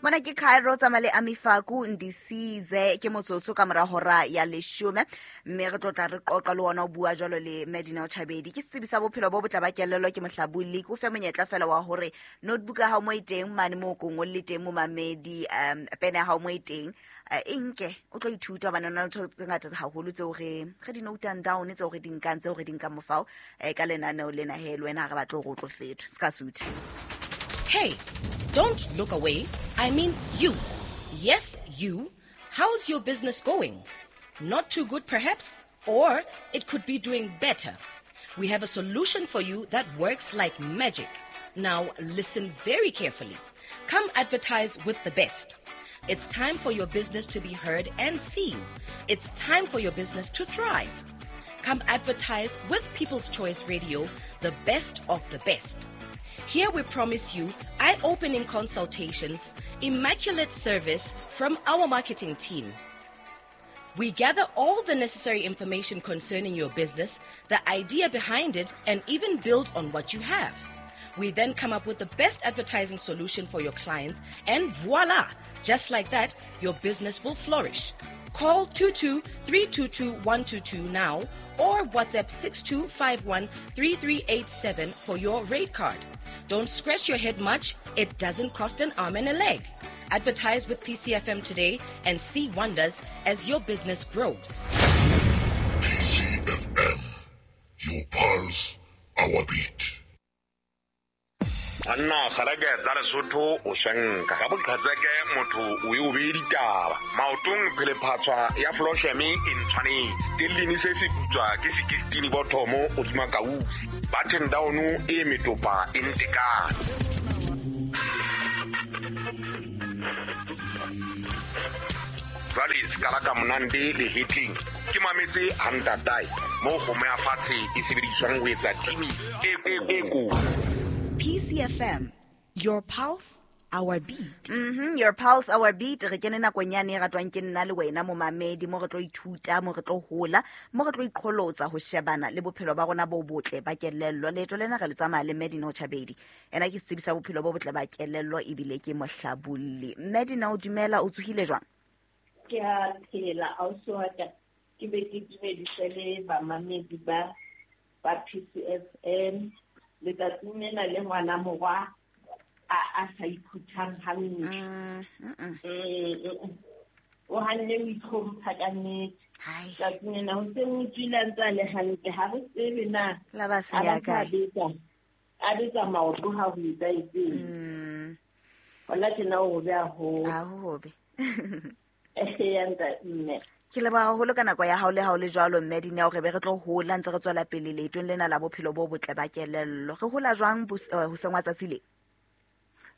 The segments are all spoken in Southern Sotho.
Mona ke Cairo tsamaya le Amifaku Ndisize ke motsotso ka mora hora ya leshome, mme re tlo tla re qoqa le ona o bua jwalo le Medina Chabedi. Ke setsebi sa bophelo bo botle ba kelello, ke mohlabolli. Ke o fe monyetla fela wa hore notebook ya hao mo e teng mane mo ko ngolle teng momamedi, pene ya hao mo e teng, e nke o tlo ithuta hobane ho na le ntho tse ngata haholo tseo re di note-ang down, tseo re di nkang, tseo re di nkang mofao ka lenaneo lena. He le wena ha re batle hore o tlo fetwa se ka suthe. Hey, don't look away. I mean you. Yes, you. How's your business going? Not too good, perhaps? Or it could be doing better. We have a solution for you that works like magic. Now, listen very carefully. Come advertise with the best. It's time for your business to be heard and seen. It's time for your business to thrive. Come advertise with People's Choice Radio, the best of the best. Here we promise you eye-opening consultations, immaculate service from our marketing team. We gather all the necessary information concerning your business, the idea behind it, and even build on what you have. We then come up with the best advertising solution for your clients, and voila! Just like that, your business will flourish. Call 22-322-122 now or WhatsApp 6251-3387 for your rate card. Don't scratch your head much. It doesn't cost an arm and a leg. Advertise with PCFM today and see wonders as your business grows. PCFM, your pulse, our beat. Banna kgaleke tsa Lesotho o shenka ka boqhetseke motho o e o beye ditaba maotong phelephatshwa ya flosheme e ntshwanetse stellini se se putswa ke sekistini bothomo o tsuma kausi button down e metopa e ntekane. Jwale se ka la ka monande le hetleng ke mametse hantatae mo kgomo ya fatshe e sebediswang ho etsa timi e ko. PCFM, your pulse, our beat. Your pulse, our beat. Re kene nakong yane e ratwang ke nna le wena momamedi, mo re tlo ithuta, mo re tlo hola, mo re tlo iqholotsa ho shebana le bophelo ba rona bo botle ba kelello. Leeto lena re le tsamaya le Medina Chabedi. Ena ke setsebi sa bophelo bo botle ba kelello ebile ke mohlabolli. Medina, o dumela, o tsohile jwang? Ke a phela, ausi wa ka. Ke be ke dumedise le bamamedi ba PCFM. Letsatsing lena le ngwana morwa a sa iphuthang hantle. O hanne o itlhompha ka nnete. Letsatsing lena ho se ho tswile a ntse a le hantle, ha re tsebe na La ba senya a ba kae. A betsa maoto ha ho etsahetseng. Hona tjena o hobe haholo. Ha ho hobe. Eya, ntate, mme. Ke leboha haholo ka nako ya hao le ha o le jwalo, mme Dineo, re be re tlo hola ntse re tswela pele leetong lena la bophelo bo botle ba kelello. Re hola jwang hoseng wa tsatsi le?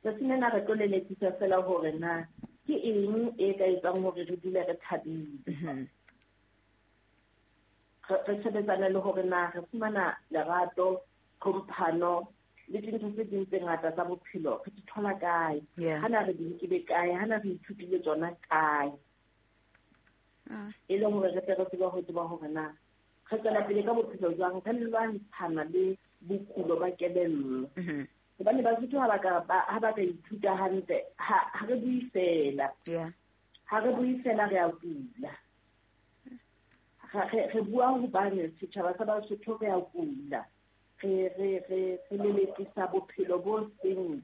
Tsatsing lena re tlo lelekisa fela hore na ke eng e ka etsang hore re dule re thabile. Re sebetsana le hore na re fumana lerato, tlhomphano le dintho tse ding tse ngata tsa bophelo re di thola kae? Hana re di nkile kae? Hana re ithutile tsona kae? E leng hore re tle re tsebe ho tseba hore na re tswela pele ka bophelo jwang, re lwantshana le bokulo ba kelello. Hobane Basotho ha ba ka ba, ha ba ka ithuta hantle, ha re bue fela. Ha re bue fela re a kula. Re bua hobane setjhaba sa Basotho re a kula. Re lelekisa bophelo bo seng,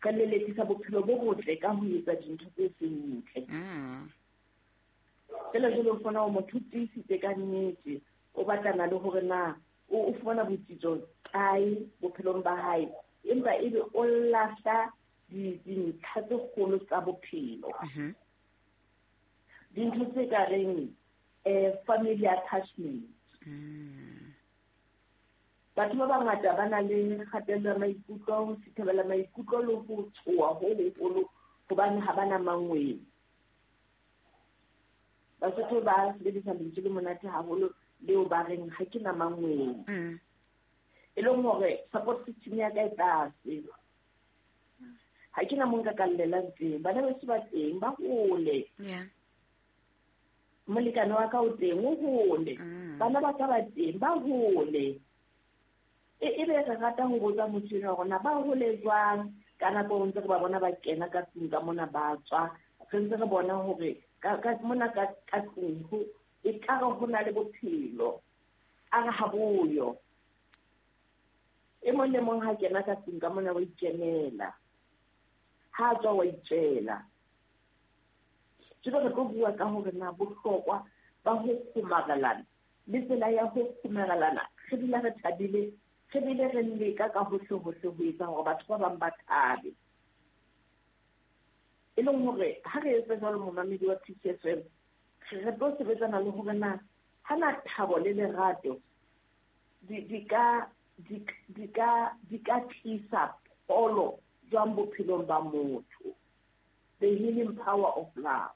re lelekisa bophelo bo botle ka ho etsa dintho tse seng ntle. Fela jwale o fumana hore motho o tiisitse ka nnete, o batlana le hore na o fumana botsitso kae bophelong ba hae, empa ebe o lahla dintlha tse kgolo tsa bophelo. Dintho tse ka reng, family attachment. Batho ba bangata ba na le kgatello ya maikutlo, ho sithabela maikutlo le ho tshoha ho hoholo hobane ha ba na mangwele. Basotho ba sebedisa lentswe le monate haholo leo ba reng ha ke na mangwele. E leng hore support system ya ka e tlase. Ha ke na mo nka ka llelang teng. Bana beso ba teng, ba hole. Molekane wa ka o teng, o hole. Bana ba ka ba teng, ba hole. E be re rata ho botsa motho enwa hore na ba hole jwang, Ka nako ntse re ba bona ba kena ka tlung ka mona ba tswa, re ntse re bona hore ka mona ka tlung ho e ka re ho na le bophelo. A re ha boyo. E mong le mong ha kena ka tlung ka mona wa ikemela. Ha tswa wa itjela. Jwale re tlo bua ka hore na bohlokwa ba ho kgomarelana le tsela ya ho kgomarelana re dula re thabile, re bile re leka ka hohle hohle ho etsa hore batho ba bang ba thabe. E leng hore ha re etsa jwalo momamedi wa Peace FM, re tlo sebetsana le hore na ha na thabo le lerato di ka tlisa pholo jwang bophelong ba motho. The healing power of love.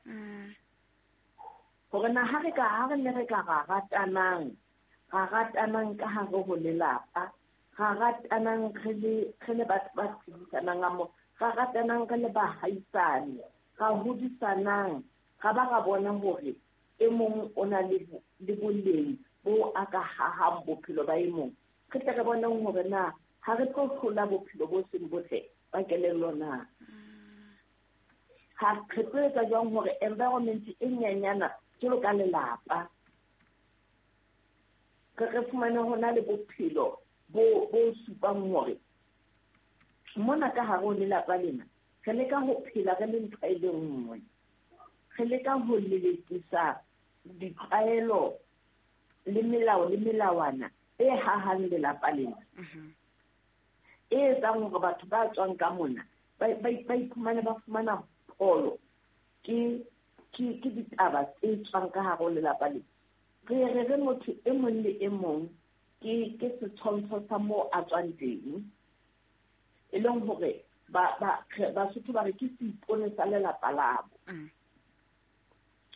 Hore na ha re ne re ka ra ratanang ka hare ho lelapa, ra ratanang re le batho ba phedisanang mo, ra ratanang re le bahaisane, ra hodisanang, ra ba ra bona hore e mong o na le boleng bo a ka hahang bophelo ba e mong. Re tle re boneng hore na ha re tlo hlola bophelo bo seng botle ba kelello na. Ha re tlo etsa jwang hore environment e nyenyana jwalo ka lelapa re fumane ho na le bophelo bo supang hore mona ka hare ho lelapa lena re leka ho phela re le ntho e le nngwe, re leka ho lelekisa ditlwaelo le melao le melawana e hahang lelapa lena, e etsang hore batho ba tswang ka mona ba iphumane ba fumana pholo ke ditaba tse tswang ka hare ho lelapa lena. Re re motho e mong le e mong ke setshwantsho sa moo a tswang teng, e leng hore Basotho ba re ke seipone sa lelapa labo.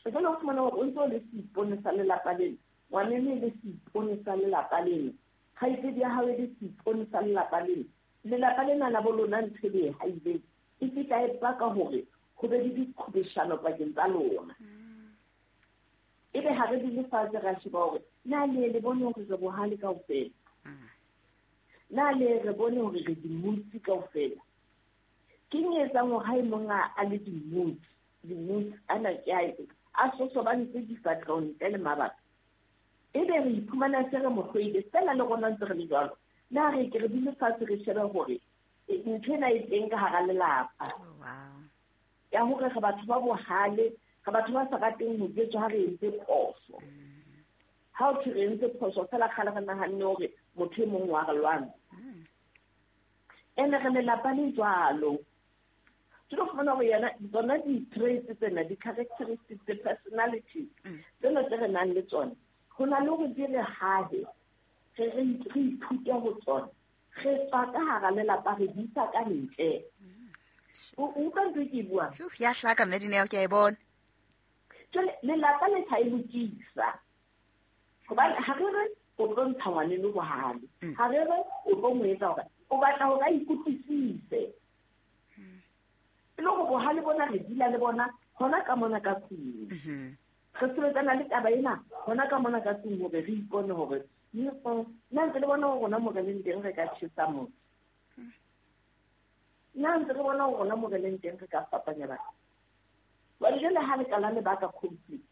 Jwale o fumana hore o ntse o le seipone sa lelapa lena, ngwaneno e le seipone sa lelapa lena, kgaitsedi ya hao e le seipone sa lelapa lena. Lelapa lena la bo lona ntho e le e haileng e fihla e baka hore ho be le diqhobeshano pakeng tsa lona. Ebe ha re dule fatshe ra sheba hore na le le bone hore re bohale kaofela, na le re bone hore re dimutsi kaofela. Ke eng e etsang hore ha e mong a le dimutsi ana ke a sosobantse difahleho ntle le mabaka, ebe re iphumana se re mo hloile fela le rona ntse re le jwalo. Na re ke re dule fatshe re shebe hore ntho ena e teng ka hara lelapa. Ya hore re batho ba bohale, re batho ba sa rateng ho jwetswa ha re entse phoso. Ha o thwe re entse phoso fela kgale re nahanne hore motho e mong wa re lwana. Ene re lelapa le jwalo. Ke tlo fumana hore yena tsona di-traits tsena, di-characteristics, the-personalities tsena tse re nang le tsona, ho na le hore di re hahe, re ithute ho tsona, re tswa ka hara lelapa re di isa ka ntle. O utlwa ntho e ke e buang? Ya hlaka mme Dineo, ke a e bona. Jwale lelapa le tla e lokisa. Hobane ha re re o tlo ntsha ngwaneno bohale, ha re re o tlo mo etsa hore o batla hore a ikutlwisise. E le hore bohale bona re dula le bona hona ka mona ka tlung. Re sebetsana le taba ena hona ka mona ka tlung hore re ipone hore nna ntse le bona hore rona mo re leng teng re ka tjhesa motho. Nna ntse re bona hore rona mo re leng teng re ka fapanya batho. Jwale jwale ha le qala le baka conflict,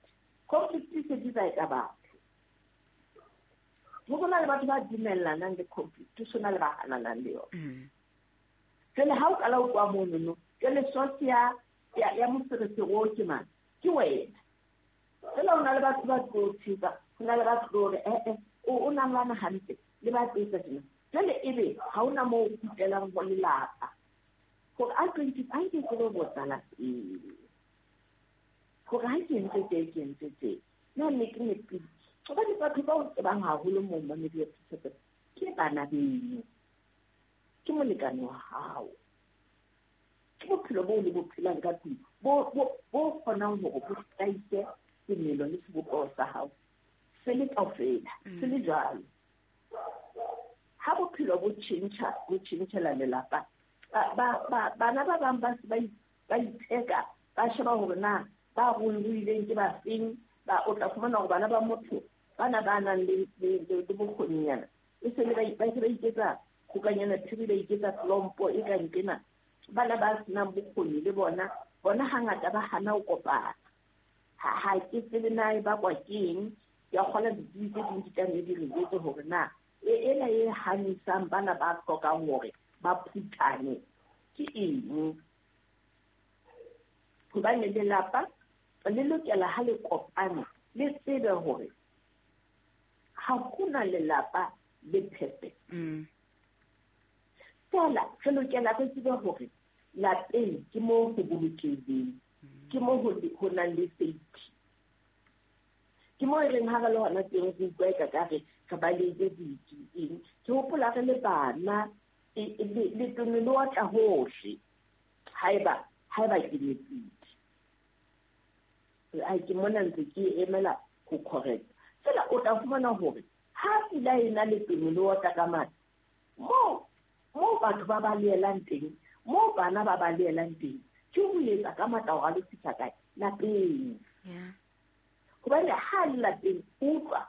conflict e se bitsa e ka batho. Ho na le batho ba dumellanang le conflict, ho na le ba hananang le yona. Jwale ha o qala o tloha monono, jwale source ya moferefere oo ke mang? Ke wena. Jwale ho na le batho ba tlo tshepa, ho na le batho tlo hore o na lwana hantle le ba tlo etsa tjena. Jwale ebe ha hona moo o kgutlelang ho lelapa. Hore a ke ke lo botsa lapeng. Hore ha ke entse tje, ke entse tje. Na nne ke nepile. Hobane batho ba o tsebang haholo moo momamedi wa Peace FM ke bana beno, ke molekane wa hao, ke bophelo boo le bo phelang ka tlung bo kgonang hore bo hlahise semelo le sebopeho sa hao se le kaofela, se le jwalo. Ha bophelo bo tjhentjha, bo tjhentjhela lelapa, bana ba bang ba se ba itheka, ba sheba hore na ba ruileng ke ba feng, ba o tla fumana hore bana ba motho bana ba nang le bokgoninyana e se le ba se ba iketsa kgokanyana phiri, ba iketsa tlompo e kang kena. Bana ba senang bokgoni le bona bona hangata ba hana ho kopana. Ha ke tsebe na e bakwa ke eng, ke a kgolwa ditsebi tse ding di tla nne di re jwetse hore na ena e hanisang bana ba hlokang hore ba phuthane ke eng. Hobane lelapa le lokela ha le kopane le tsebe hore ha hona lelapa le perfect. Fela re lokela re tsebe hore lapeng ke moo ho bolokehileng, ke moo ho nang le safety. Ke moo e reng ha re le hona teng re utlwa eka ka re re balehile eng. Ke hopola re le bana letone le otla hohle haeba ke nepile. Ai ke mona ntse ke emela ho correct. Fela o tla fumana hore ha pula e na letone le otla ka matla, moo batho ba balehelang teng, moo bana ba balehelang teng, ke ho etsa ka matla hore a lo fihla kae? Lapeng. Hobane ha le lapeng utlwa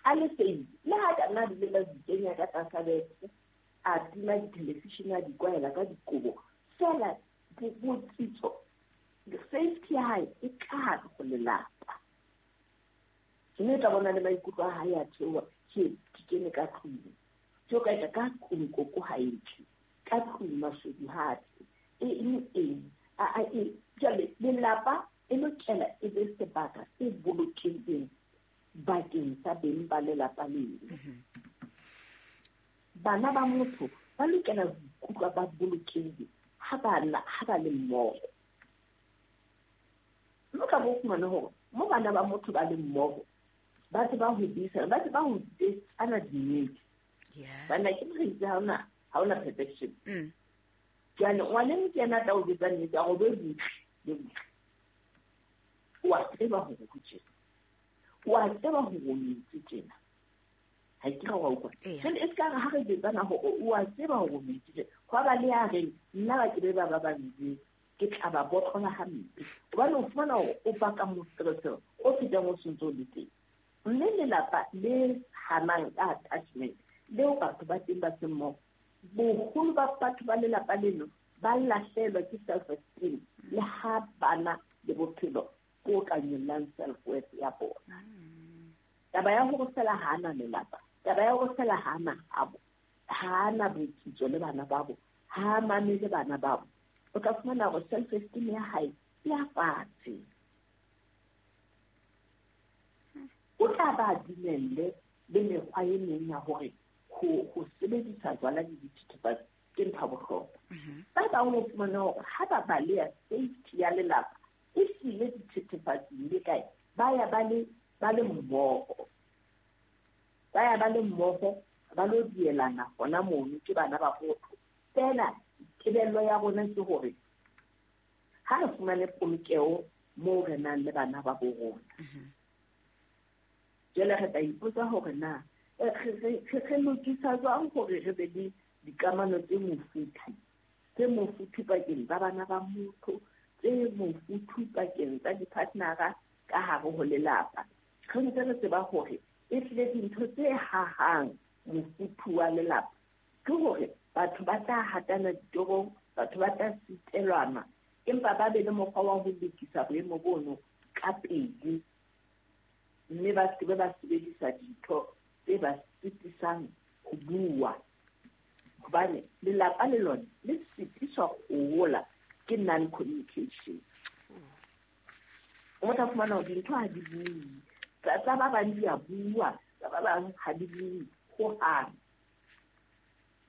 a le safe, le ha ka nna le la dikenya ka tlasa bese, a tima di-television, a di kwaela ka dikobo, fela botsitso, safety ya hae e ka hare ho lelapa. Mme o tla bona le maikutlo a hae a theoha, ke kene ka tlung. Ke o ka etsa ka tlung koko ha e tle, ka tlung mashodu ha tle, eng. Jwale lelapa e lokela e be sebaka se bolokehileng bakeng sa beng ba lelapa leo. Bana ba motho ba lokela ho ikutlwa ba bolokehile ha ba le mmoho. Mme o tla bo fumane hore mo bana ba motho ba le mmoho, ba tseba ho buisana, ba tseba ho ana dinnete. Bana ke re itse ha hona perfection. Jwale ngwaneno ke yena a tla o jwetsa nnete, a re be butle le butle. O a tseba hore ho tjena, o a tseba hore o entse tjena. Ha ke re wa utlwa. Jwale e se ka re ha re jwetsana hore o a tseba hore o entse tjena, hwa ba le ya reng nna ba ke be ba ba njwetse, ke tla ba botlola hampe. Hobane o fumana hore o baka moferefere o fetang o sentse o le teng. Mme lelapa le hanang ka attachment leo batho ba teng ba seng mmoho, boholo ba batho ba lelapa leno ba lahlelwa ke self-esteem le ha bana le bophelo bo ka nyollang self-worth ya bona. Taba ya hore fela ha ana lelapa, taba ya hore fela ha ana abo, ha ana botsitso le bana babo, ha mamele bana babo, o tla fumana hore self-esteem ya hae e ya fatshe. O tla ba dumelle le mekgwa e meng ya hore ho sebedisa jwala le dithethefatsi ke ntho ya bohlokwa. Ba bang o fumana hore ha ba baleha safety ya lelapa e hlile dithethefatsing le kae, ba ya ba le mmoho. Ba ya ba le mmoho, ba lo dielana hona mono ke bana ba motho. Fela tebello ya rona ke hore ha re fumane polokeho moo re nang le bana ba bo rona. Jwale re tla ipotsa hore na re lokisa jwang hore re be le dikamano tse mofuthu pakeng tsa bana ba motho, tse mofuthu pakeng tsa di-partnera ka hare ho lelapa. Re ntse re tseba hore e tlile dintho tse hahang mofuthu wa lelapa ke hore batho ba tla hatana ditorong, batho ba tla sitelwana, empa ba be le mokgwa wa ho lokisa boemo bono ka pele, mme ba se ba sebedisa dintho tse ba sitisang ho bua. Hobane lelapa le lona le sitiswa ho hola ke non-communication. O tla fumana hore dintho ha di bue, tsa ba bang di a bua, tsa ba bang ha di bue hohang.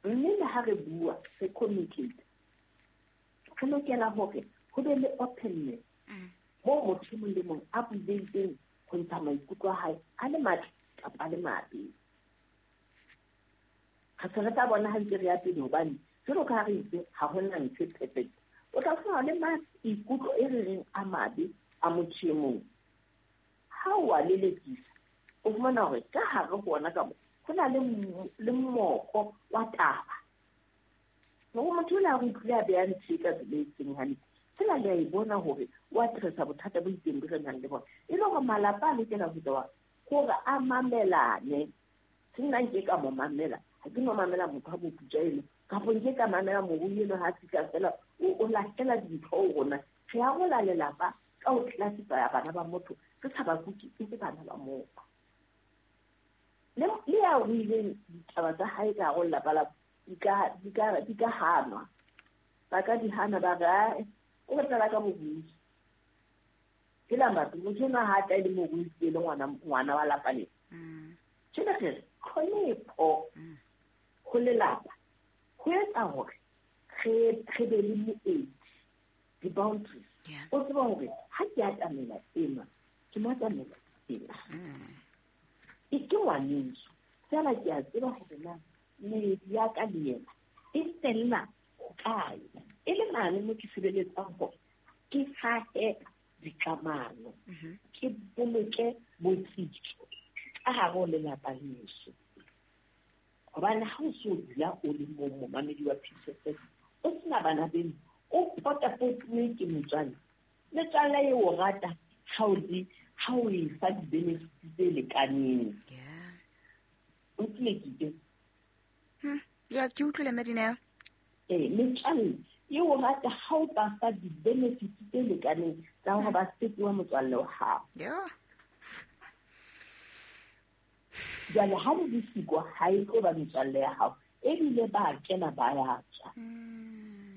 Mme le ha re bua, re communicate, re lokela hore ho be le openness moo motho e mong le mong a bulehileng ho ntsha maikutlo a hae a le matle kapa a le mabe. Re se re tla bona ha ntse re ya pele, hobane jwalo ka ha re itse ha hona ntho e perfect. O tla fumana le maikutlo e re reng a mabe a motho e mong. Ha o a lelekisa, o fumana hore ka hare ho ona ka mo ho na le moko wa taba. Hore motho o la re utlwile a beha ntho e ka tsela e seng hantle, fela le a e bona hore o addressa bothata bo itseng bo re nang le bona. E le hore malapa a lokela ho etsa hore a mamelane. Se nna nke ka mo mamela, ha ke no mamela motho a mo putsa eno Kapo nke ka mamela morui eno ha fihla fela o lahlela dintho ho rona. Re arola lelapa ka ho classify bana ba motho, re sa ba kuke e le bana ba motho. Le ya ruileng ditaba tsa hae ka hare ho lelapa la di ka hanwa. Ba ka di hana ba re, o re tlala ka borui. Ke la batho, motho enwa ha tla e le morui e le ngwana wa lapa lena. Tjena re re, tlhonepho ho lelapa ho etsa hore re be le moedi, di-boundaries. O tseba hore ha ke atamela enwa, ke mo atamela ena. E ke ngwaneso, feela ke a tseba hore na meedi ya ka le yena e fella hokae. E le mane mo ke sebeletsang hore ke hahe dikamano, ke boloke botsitso ka hare ho lelapa leso. Hobane ha o so dula o le mong momamedi wa Peace FM, o sena bana beno, o potapotuwe ke metswalle. Metswalle e o rata ha o e fa di-benefits tse lekaneng. O tlile ke ke? Ya, ke utlwile Madineo. Metswalle e o rata ha o ba fa di-benefits tse lekaneng tsa hore ba fetohe motswalle wa hao. Jwale ha le di siko ha e tlo ba metswalle ya hao, ebile ba kena ba ya tswa.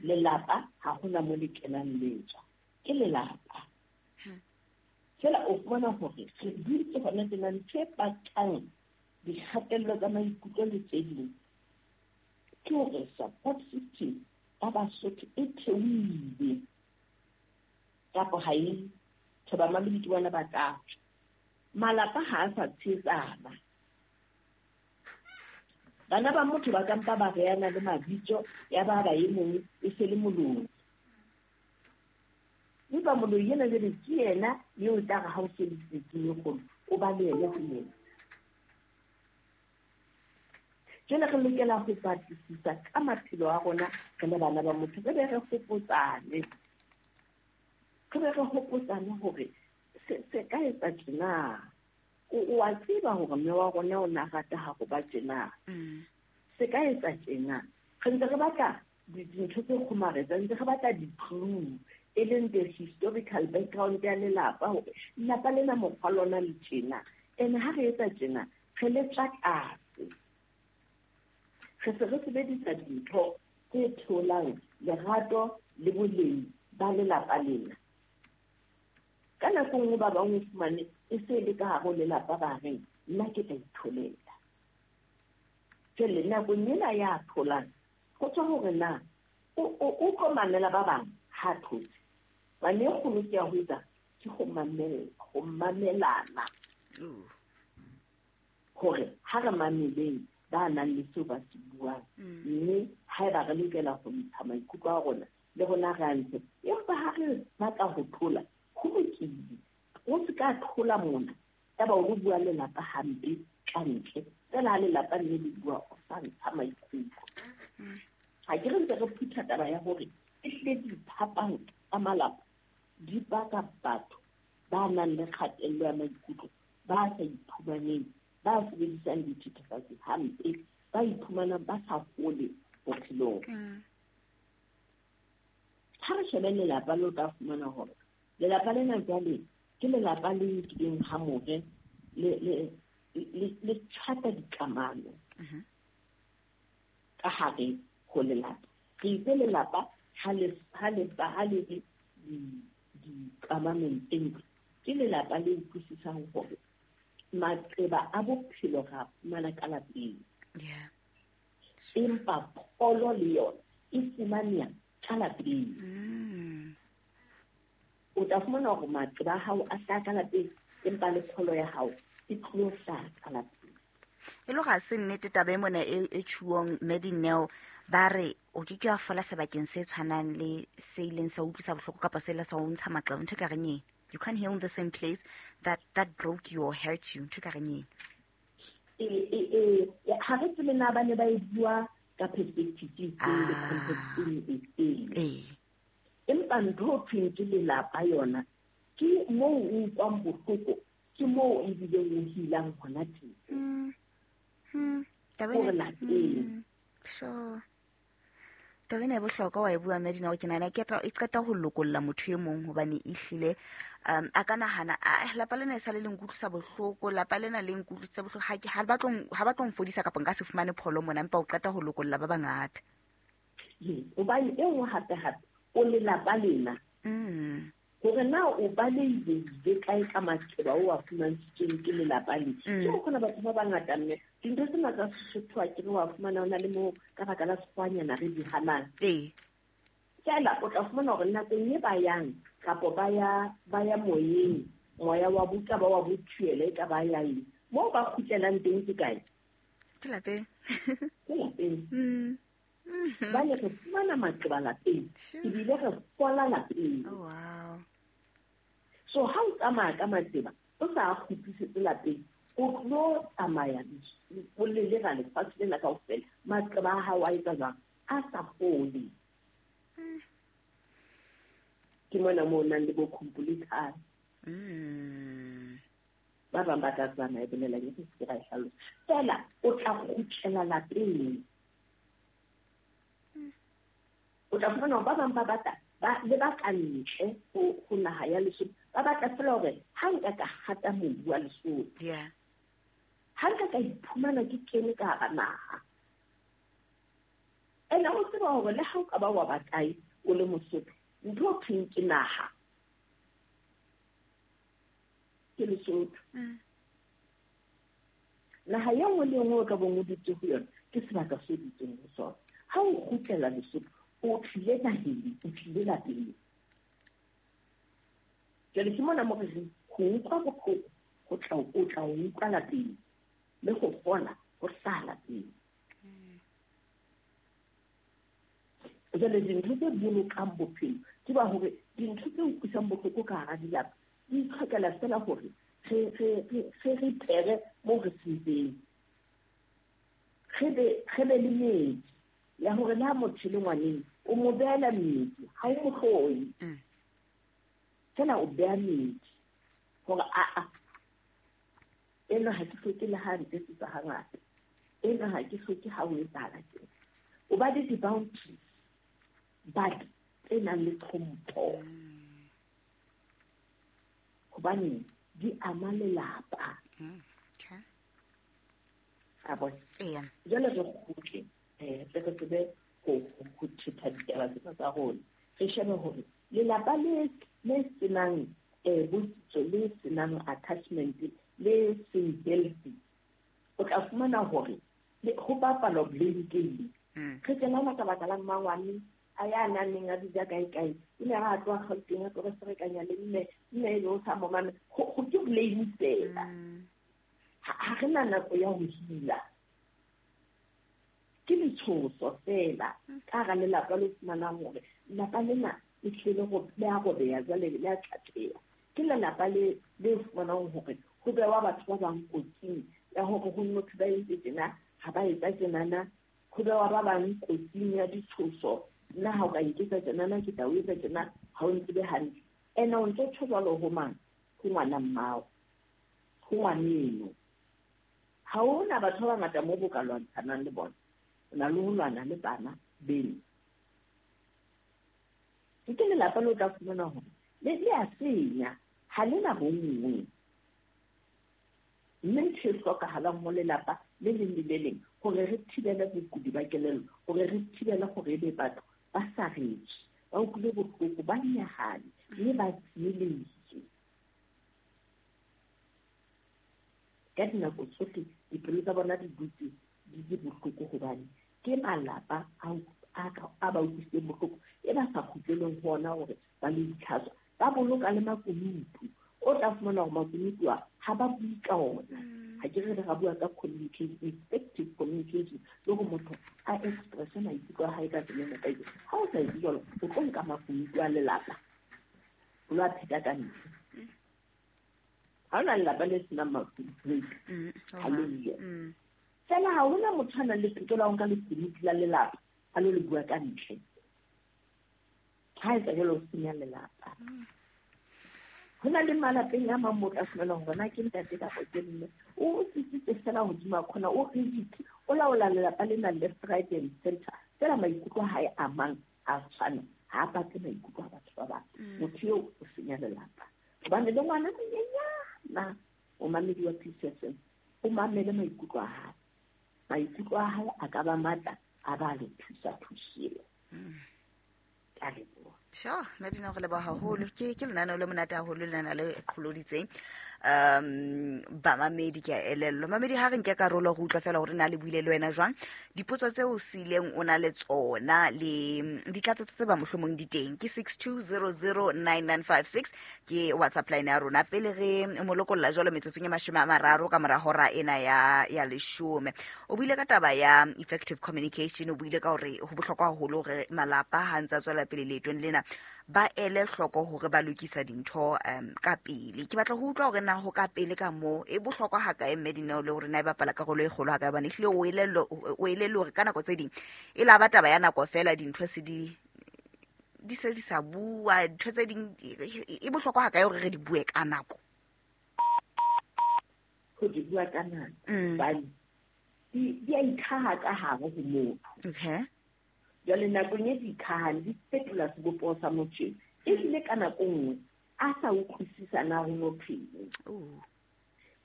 Lelapa ha hona mo le kenang le tswa. Ke lelapa. Feela o fumana hore re dutse hona tjena ntho e bakang dikgatello tsa maikutlo le tse ding ke hore support system ya Basotho e theohile kapa ha e thoba mamedi ke bona ba tla tswa. Malapa ha a sa tshehetsana. Bana ba motho ba ka mpa ba reana le mabitso ya ba ba e mong e se le moloi. Empa moloi ena jwale ke yena eo tla re ha o se le tsietsing e kgolo, o ba le yena ho yena. Jwale re lokela ho batlisisa ka maphelo a rona re le bana ba motho, re be re hopotsane. Re be re hopotsane hore se ka etsa tjena. O a tseba hore mme wa rona o na rata ha go ba tjena. Se ka etsa tjena. Re ntse re batla dintho tse kgomaretsang, ntse re batla di-clue, e leng the historical background ya lelapa, hore lelapa lena mokgwa lona le tjena. Ene ha re etsa tjena, re le tswa tlase. Re se re sebedisa dintho tse theolang lerato le boleng ba lelapa lena. Ka nako nngwe ba bang o fumane e se le ka hare ho lelapa ba reng, nna ke tla itholela. Jwale nakong ena ya tholang, ho tswa hore na o tlo mamela ba bang ha thotse. Bane e kgolo ke ya ho etsa ke ho mamelana. Hore ha re mameleng ba nang le seo ba se buang, mme haeba re lokela ho ntsha maikutlo a rona le rona re a ntshe. Empa ha re batla ho thola, ho lokile. O se ka thola mona, yaba o bua lelapa hampe ka ntle. Feela ha lelapa le le bua, o sa ntsha maikutlo. Ha ke re ntse re phutha taba ya hore ehlile diphapang tsa malapa di baka batho ba nang le kgatello ya maikutlo, ba sa iphumaneng, ba sebedisang dithethefatsi hampe, ba iphumanang ba sa hole bophelong. Ha re shebe lelapa le o tla fumana hore lelapa lena jwale ke lelapa le nkileng ha more le tjhata dikamano ka hare ho lelapa. Re itse lelapa ha le dikamanong tse ntle, ke lelapa le utlwisisang hore maqeba a bophelo ra fumana ka lapeng. Empa pholo le yona e fumaneha ka lapeng. O tla fumana hore maqeba a hao a hlaha ka lapeng, empa le pholo ya hao e tlo hlaha ka lapeng. E le ga se nnete taba e mona e tjhuong Madineo, ba re o ke ke wa fola sebakeng se tshwanang le se ileng sa utlwisa bohloko kapa se ile sa o ntsha maqeba, ntho e ka reng eng? You can't heal in the same place that broke you or hurt you. Ntho e ka reng eng? Ha re tsebe na ba ne ba e bua ka perspective e le context e feng. Empa ntho ho thweng ke lelapa yona, ke moo o utlwang bohloko, ke moo ebileng o healang hona teng. Hore lapeng. Sure. Taba ena e bohlokwa wa e bua, Medina, ke nahana ke e qeta ho lokolla motho e mong, hobane ehlile a ka nahana, lapa lena e sale le nkutlwisa bohloko, lapa lena le nkutlwisitse bohloko, ha ba tlo nfodisa kapa nka se fumane pholo mona, empa o qeta ho lokolla ba bangata. Hobane e nngwe hape-hape, o lelapa lena. Hore na o balehile kae ka maqeba o a fumantshitsweng ke lelapa le. Ke ho kgona batho ba bangata, mme dintho tsena tsa Sesotho a ke re wa fumana ho na le moo ka baka la sekgwanyana re di hanang. Feela o tla fumana hore nakong e ba yang kapa ba ya moyeng, moya wa buka ba wa bothuele e ka ba ya eng, moo ba kgutlelang teng ke kae? Ke lapeng. Ke lapeng. Ba le re fumana maqeba lapeng, ebile re fola lapeng. Oh, wow. So ha o tsamaya ka maqeba, o sa kgutlisetse lapeng, o tlo tsamaya o lelera lefatshe lena kaofela, maqeba a hao a etsa jwang? A sa fole. Ke mona moo o nang le bo khumpulithane. Ba bang ba tla tsamaya e bolelang e se ke ra e hlalosa. Feela o tla kgutlela lapeng. O tla fumana hore ba bang ba batla le ba ka ntle ho naha ya Lesotho, ba batla feela hore ha nka ka hata mobu wa Lesotho. Ha nka ka iphumana ke kene ka hara naha. Ene o tseba hore le ha o ka ba wa ba kae o le Mosotho, ntho o thweng ke naha ke Lesotho. Naha e nngwe le e nngwe o ka bong o dutse ho yona ke sebaka se o dutseng ho sona. Ha o kgutlela Lesotho, o tlile naheng, o tlile lapeng. Jwale ke mona mo re reng ho utlwa bohloko o tla o utlwa lapeng, le ho fola ho hlaha lapeng. Jwale dintho tse bolokang bophelo ke ba hore dintho tse utlwisang bohloko ka hara dilapa di itlhokela feela hore re re moo re sentseng, re be le metsi ya hore le ha motho le ngwaneng o mo beela metsi, ha o mo hloye. Feela o beha metsi hore a ena ha ke hloke le ha ntetsetsa hangata, ena ha ke hloke ha o etsahala tjena. O ba le di-boundaries but tse nang le tlhompho, hobane di ama lelapa. A bona? Jwale re kgutle, re tsebe ho thetha ditaba tsena tsa rona. Re shebe hore lelapa le senang botsitso, le senang attachment, le seng healthy, o tla fumana hore ho bapalwa blame game. Re tsenana ka baka la mmangwane a ya nang a dija kae kae, o ne a tloha Gauteng a tlo re ferekanya le mme e be o sa mo mamela. Ho ke blame fela. Ha re na nako ya ho heala. Ke letshoso fela ka hara lelapa le fumanang hore lelapa lena le tlile go le a robeha jwale le a tlatheha. Ke lelapa le fumanang hore ho bewa batho ba bang kotsing ya hore ho motho ba entse tjena, ha ba etsa tjenana, ho bewa ba bang kotsing ya ditshoso. Nna ha o ka nketsa tjenana, ke tla o etsa tjena, ha o ntsebe hantle. Ene o ntso tjho jwalo ho mang? Ho ngwana mmao, ho ngwaneno. Ha hona batho ba bangata moo bo ka lwantshanang le bona. O na le ho lwana le bana beno. Ke lelapa le o tla fumana hore le a senya, ha le na bonngwe. Mme ntho e hlokahalang ho lelapa le leng le le leng hore re thibele bokudi ba kelello, hore re thibele hore ebe batho ba saretswe, ba utlwile bohloko, ba nyahame, mme ba tsielehile. Ka dinako tsohle dipelo tsa bona di dutse di le bohloko hobane ke malapa a ba utlwisitseng bohloko, e ba sa kgutleleng ho ona hore ba lo itlhatswa. Ba boloka le makunutu. O tla fumana hore makunutu a ha ba bue ka ona. Ha ke re ra bua ka communication, effective communication, le hore motho a expresse maikutlo a hae ka tsela e nepahetseng. Ha o sa etse jwalo, o tlo nka makunutu a lelapa, o lo a pheta ka ntle. Ha hona lelapa le senang makunutu, ha le yo. Feela ha hona motho a nang le tokelo ya ho nka lekunutu la lelapa a lo le bua ka ntle. Ha etsa jwalo, o senya lelapa. Ho na le malapeng a mang mo tla fumana hore na ke ntate kapa ke mme, o tsitsitse fela hodima khona, o rigid, o laola lelapa lena left, right and center. Fela maikutlo a hae a mang a tshwana, ha a batle maikutlo a batho ba bang. Motho eo o senya lelapa. Hobane le ngwana monyenyana o mamedi wa Peace FM, o mamele maikutlo a hae. Maikutlo a hae a ka ba matla, a ba le thusa thusile. Ka leboha. Sure, Madina, re leboha haholo. Ke lenaneo le monate haholo, lenaneo le qholoditseng. Bamamedi ke a elellwa. Mamedi, ha re nke karolo re utlwa fela hore na le buile le wena jwang. Dipotso tseo o sileng o na le tsona le ditlatsetso tse ba mohlomong di teng ke 62009956 ke WhatsApp line ya rona. Pele re mo lokolla jwalo metsotsong e 30 ka mora hora ena ya 10. O buile ka taba ya effective communication, o buile ka hore ho bohlokwa haholo hore malapa ha ntse a tswela pele leetong lena ba ele hloko hore ba lokisa dintho ka pele. Ke batla ho utlwa hore na ho ka pele ka moo e bohlokwa ha kae mme Dineo, le hore na e bapala karolo e kgolo ha kae, hobane ehlile o elellwe hore ka nako tse ding e la ba taba ya nako fela, dintho se di se di sa bua, dintho tse ding e bohlokwa ha kae hore re di bue ka nako. Ho di bua ka nako hobane di a ikhaha ka hare ho motho. Okay. Jwale nakong e di ikhahang di fetola sebopeho sa motho, ebile ka nako nngwe a sa utlwisisa na ho no phele.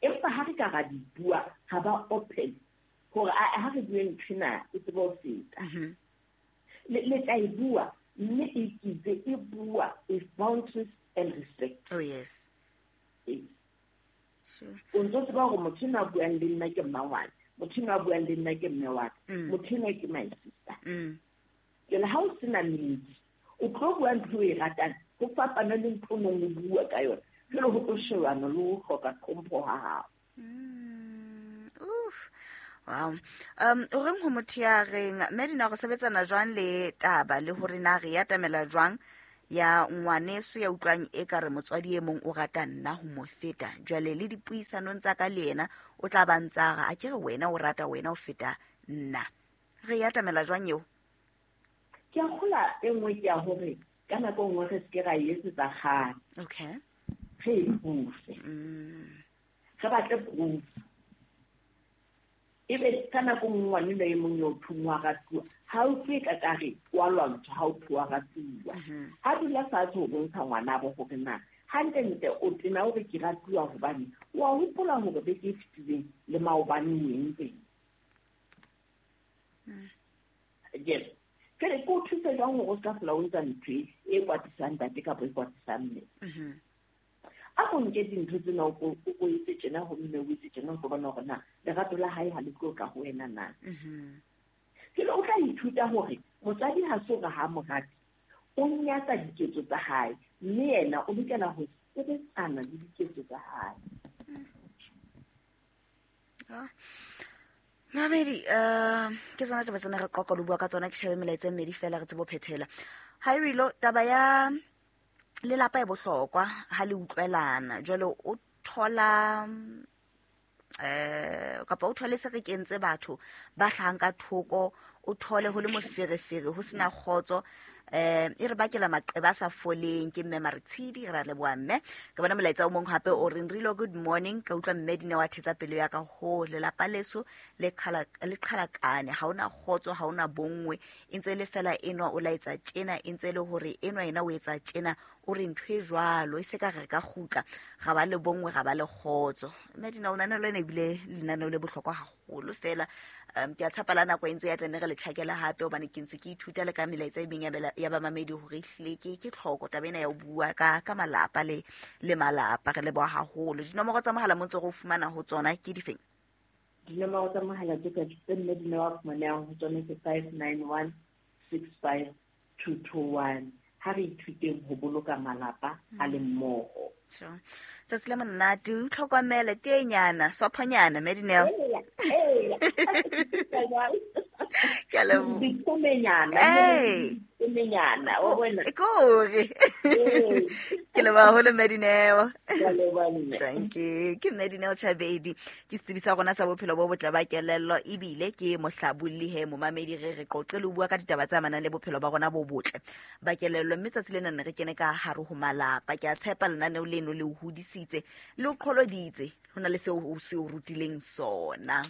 Empa ha re ka ra di bua, ha ba open hore ha re bue nthwena e tsebe ho feta. Le tla e bua, mme e kitse e bua with boundaries and respect. Oh yes. Sure. O ntso tseba hore motho enwa a buang le nna ke mmangwane, motho enwa a buang le nna ke mme wa ka, motho enwa ke my sister. Jwale ha o sena meedi, o tlo bua ntho e ratang, ho fapana le ntho o nong o bua ka yona. Jwale ho tlo shebana le ho hloka tlhompho ha hao. Wow. O reng ho motho ya reng Madina, re sebetsana jwang le taba le hore na re atamela jwang ya ngwaneso ya utlwang e ka re motswadi e mong o rata nna ho mo feta, jwale le dipuisanong tsa ka le yena o tla ba ntsara a ke re wena o rata wena o feta nna. Re atamela jwang eo? Ke a kgola e nngwe ke ya hore ka nako nngwe re seke ra e etsetsa kgang. Okay. Re e proof-e. Re batle proof. Ebe ka nako nngwe ngwanenwa e mong eo thong wa ratuwa, ha o utlwe ka kare wa lwantshwa ha o thwe wa ratuwa. A dula fatshe ho bontsha ngwanabo hore na hantlentle o tena hore ke ratuwa hobane wa hopola hore beke e fetileng le maobane o entseng. Yes. Jwale ke o thuse jwang hore o ska hlola o etsa ntho e kwatisang ntate kapa e kwatisang mme? A ko nke dintho tsena o ko etse tjena ho mme, o etse tjena, o tlo bona hore na lerato la hae ha le tlo tla ho wena na. Jwale o tla ithuta hore motswadi ha se hore ha mo rate, o nyatsa diketso tsa hae, mme yena o lokela ho sebetsana le diketso tsa hae. Mamedi, ke tsona taba tsena re qoqa le bua ka tsona, ke shebe melaetsa e mmedi fela re tsebe ho phethela. Ha e rilo taba ya lelapa e bohlokwa ha le utlwelana. Jwale o thola kapa o thole se re kentse batho ba hlahang ka thoko, o thole ho le moferefere, ho sena kgotso, e re bakela maqeba a sa foleng. Ke mme Maretshidi, re a leboha mme. Ke bona molaetsa o mong hape o reng Rilo, good morning, ka utlwa mme Dineo a thetsa pelo ya ka ho lelapa leso le qhalakane, ha ona kgotso, ha ona bonngwe, e ntse le fela enwa o laetsa tjena, e ntse le hore enwa yena o etsa tjena, o re ntho e jwalo e se ka re ka kgutla ga ba le bonngwe, ga ba le kgotso. Mme Dineo, lenaneo lena ebile lenaneo le bohlokwa haholo fela. Ke a tshepa la nako e ntse ya tla ne re le tjhakela hape, hobane ke ntse ke ithuta le ka melaetsa e meng ya bamamedi hore ehlile ke tlhoko taba ena ya ho bua ka malapa le malapa. Re leboha haholo. Dinomoro tsa mohala mo ntse re o fumana ho tsona ke difeng? Dinomoro tsa mohala tse ka tse mme Dineo a fumanehang ho tsona ke 591 65 221. Ha re ithuteng ho boloka malapa a le mmoho. Sure. Tsatsi le monate, o itlhokomele, tenyana, swaphonyana, mme Dineo. Ke a leboha. Ditomenyana. Ee. Ditomenyana, wa bona. Kore ke leboha haholo, mme Dineo. Ke a leboha, mme. Thank you. Ke mme Dineo Chabedi, ke setsebi sa rona sa bophelo bo botle ba kelello, ebile ke mohlabolli. He momamedi, re qoqe le ho bua ka ditaba tse amanang le bophelo ba rona bo botle ba kelello, mme tsatsi lena ne re kene ka hare ho malapa. Ke a tshepa lenaneo leno le o hodisitse, le o qholoditse, ho na le seo o se o rutileng sona.